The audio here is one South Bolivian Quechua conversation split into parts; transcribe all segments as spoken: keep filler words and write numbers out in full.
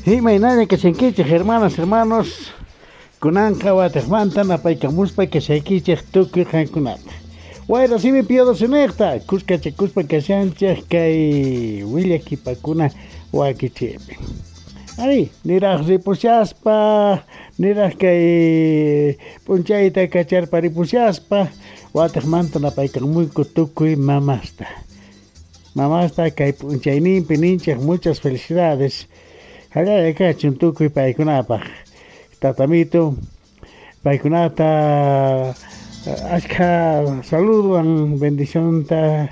Imaynalla kashankichej, hermanas, hermanos, kunanqa watejmanta napaykamuspa kashaykichej tukuy qankunata. Wayra simi piyadosinejta, kuskachakuspa kashanchej kay willakipakuna wakichiypi. Ari, niraj ripushaspa, niraj kay p'unchayta kacharpa ripushaspa, watejmanta napaykamuyku tukuy mamasta. Mamasta kay p'unchayninpi ninchej muchas felicidades. Jallaya kachun tukuy paykunapaj. Tatamito, paykunata ashkha saludan, bendicionta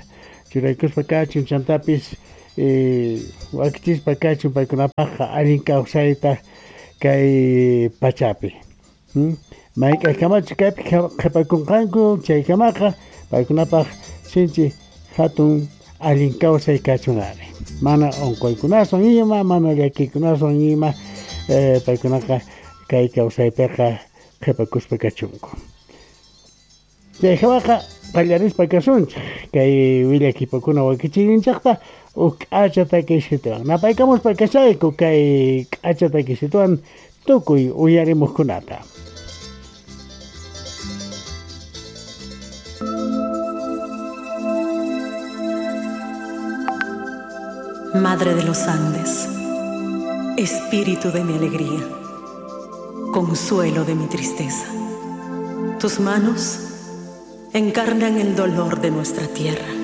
churaykuspa kachun chantapis eh, wakichispa kachun paykunapajqa allin kawsayta kay pachapi. Hmm? Mayk'ajkamachu kaypi qhipakunqanku chaykamaqa paykunapaj sinchi hatun allin kawsay kachun ari. Mana unquykunaswan ima, mana llakiykunaswan ima, eh, paykunaqa kay kawsaypiqa qhipakuspa kachunku. Chayjawaqa qallarispa kasunchik kay willakipakuna wakichiyninchikta huk k'acha takisituwan. Napaykamuspa kashayku kay k'acha takisituwan tukuy uyarimuqkunata. Madre de los Andes, espíritu de mi alegría, consuelo de mi tristeza. Tus manos encarnan el dolor de nuestra tierra.